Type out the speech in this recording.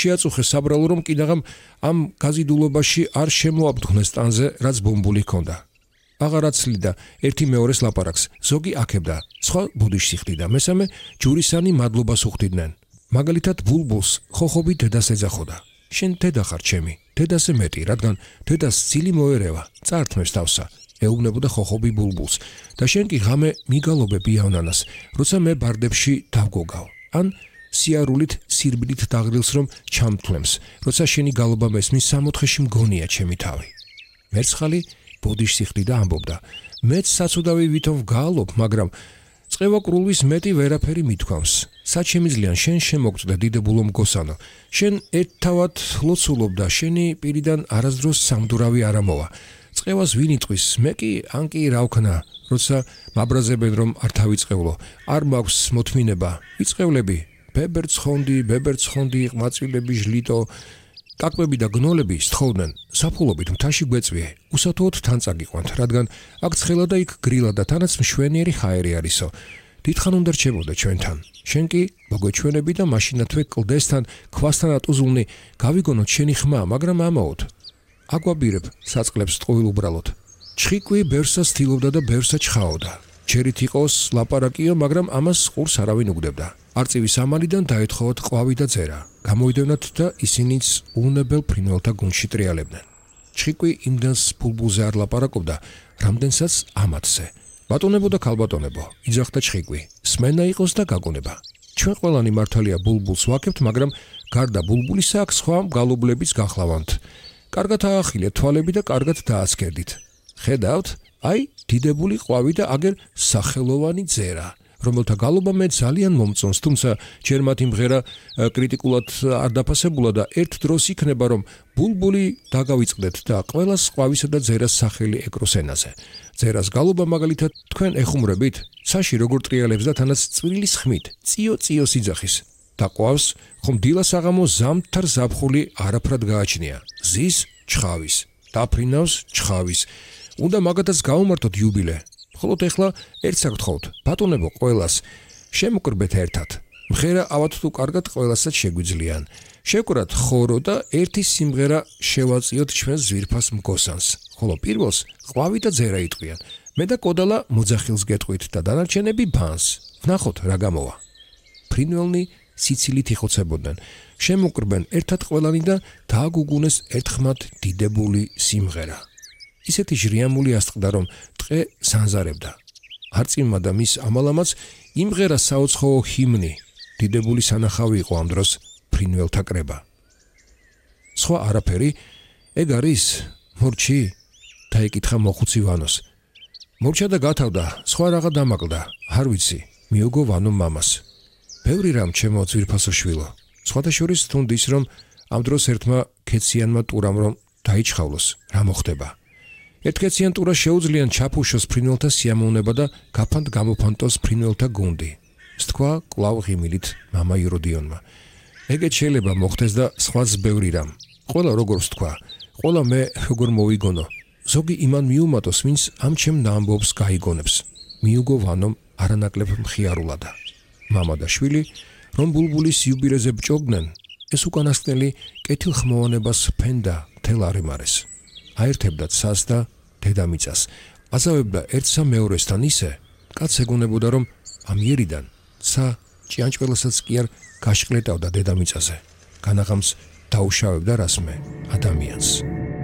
შეაწუხეს საბრალო, რომ კიდაღამ ამ გაზიდულობაში არ შემოაბთხნეს ტანზე, რაც ბუმბული ჰქონდა. აღარაც ცლიდა ერთი მეორეს ლაპარაკს, ზოგი აქებდა, სხვა ბუდიშს იხდიდა, მესამე ჯურისანი მადლობას უხდიდნენ. მაგალითად ბულბულს ხოხობი დედას ეძახოდა. შენ დედა ხარ ჩემი, დედაზე მეტი, რადგან დედას ცილი მოერევა, წართმევს თავსა, ეუბნებოდა ხოხობი ბულბულს და შენ კი ღამე მიგალობებ იავნანას, როცა მე ბარდებში დავგოგავ. ან სიარულით სირბილით დაღრილს რომ ჩამთვლემს, როცა შენი გალობა მესმის სამოთხეში მგონია ჩემი თავი. მერცხალი ბუდიშს იხდიდა ამბობდა, მეც საცუდავი ვითომ ვგალობ, მაგრამ წყევა კრულვის მეტი ვერაფერი მithქვამს. საჩემიძლიან შენ შემოგწდე დიდებულო მგოსანო. შენ ერთთავად ლოცულობ და შენი პირიდან არასდროს სამდურავი არ ამოვა. წყევას ვინ იტყვის, მე კი ან კი რა ვქნა, როცა მაბრაზებენ რომ არ თავიწყევლო, არ მაქვს მოთმინება, ვიწყევლები, ბებერცხონდი, ყმაწვილები, ჟლიტო, კაკბები და გნოლები სთხოვდნენ, საფულობით მთაში გვეწვიე, უსათუოდ თან წაგიყვანთ, რადგან აქ ცხელა და იქ გრილა და თანაც მშვენიერი ჰაერი არისო. დიდხან უნდა რჩებოდე ჩვენთან. შენ კი მოგვეჩვენები და მაშინათვე კლდესთან, ქვასთან ატუზულნი, გავიგონოთ შენი ხმა, მაგრამ ამაოდ. აგვაბირებ საწყლებს ტყუილ უბრალოდ. ჩხიკვი ბერსას თილობდა და ბერსა ჩხაოდა. ჯერით იყოს ლაპარაკიო, მაგრამ ამას ყურს არავინ უგდებდა. არწივის ამალიდან დაეთხოვოთ ყვავი და ძერა. გამოვიდევნათ და ისინიც უუნებელ ფრინველთა გუნდში ტრიალებდნენ. ჩხიკვი იმდენს ბულბულზე არ ლაპარაკობდა, რამდენსაც ამათზე. ბატონებო და ქალბატონებო, იძახდა ჩხიკვი, სმენა იყოს და გაგონება. ჩვენ ყველანი მართალია ბულბულს ვაკებთ, მაგრამ გარდა ბულბულისა აქ სხვა მგალობლებიც გახლავანთ. კარგად აახილეთ თვალები და კარგად დააცქერდით. ხედავთ, აი, დიდებული ყვავი და აგერ სახელოვანი ძერა, რომელთა გალობა მე ძალიან მომწონს, თუმცა ჯერ მათი მღერა კრიტიკულად არ დაფასებულა და ერთ დროს იქნება, რომ ბულბული დაგავიწყდეთ და ყველას ყვავისა და ძერას სახელი ეკროს ენაზე. ძერას გალობა მაგალითად თქვენ ეხუმრებით, ცაში როგორ ტრიალებს და თანაც წვრილის ხმით, წიო სიძახის. და ყვავს, ხომ დილას აღამო ზამთარ ზაფხული არაფრად გააჩნია. ზის ჩხავის, დაფრინავს ჩხავის. უნდა მაგათაც გაუმართოთ იუბილე. ხოლო ეხლა ერთს აგთხოვთ, ბატონებო ყველას, შემოკრბეთ ერთად. მღერა ავად თუ კარგად ყველასაც შეგვიძლიან. შევკრათ ხორო და ერთი სიმღერა შევაწიოთ ჩვენს ზვირფას მგოსანს. ხოლო პირველს ყვავი და ძერა იტყვიან. მე და კოდალა მოძახილს გეტყვით და დანარჩენები ბანს. ვნახოთ რა გამოვა. ფრინველნი სიცილით იხოცებოდნენ. შემოკრბენ ერთად ყველანი და დააგუგუნეს ერთხმად დიდებული სიმღერა. ისეთი ჟრიამული ასწყდა, რომ ტყე სანზარებდა. არწივმა და მის ამალამაც იმღერა საუცხოო ჰიმნი. დიდებული სანახავი იყო ამ დროს ფრინველთა კრება. სხვა არაფერი, ეგ არის მორჩი? დაეკითხა მოხუცი ვანოს. მორჩა და გათავდა, სხვა რაღა დამაკლდა, არ ვიცი, მიუგო ვანო მამას. ბევრი რამ ჩემო ძვირფასო შვილო. სხვათა შორის თუნდის რომ ამ დროს ერთმა ქეციანმა ტურამ რომ დაიჩხავლოს, რა მოხდება. ერთქეციან ტურას შეუძლიან ჩაფუშოს ფრინველთა სიამოვნება და გაფანტ გამოფანტოს ფრინველთა გუნდი. სთქვა კვლავ ღიმილით მამა იროდიონმა. ეგეც შეიძლება მოხდეს და სხვაც ბევრი რამ. ყველა როგორ ვთქვა, ყველა მე როგორ მოვიგონო. ზოგი იმან მიუმატოს, ვინც ამ ჩემ ნაამბობს გაიგონებს. მიუგო ვანომ არანაკლებ მხიარულადა. მამა და შვილი, რომ ბულბულის იუბილეზე ბჭობდნენ, ეს უკანასკნელი კეთილხმოვანებას ფენდა მთელ არემარეს. აერთებდა ცას და დედამიწას. აზავებდა ერთსა მეორესთან ისე, კაც ეგონებოდა, რომ ამ იერიდან ცა ჭიანჭველასაც კი არ გაშყლეტავდა დედამიწაზე. განაღამს დაუშავებდა რასმე ადამიანს.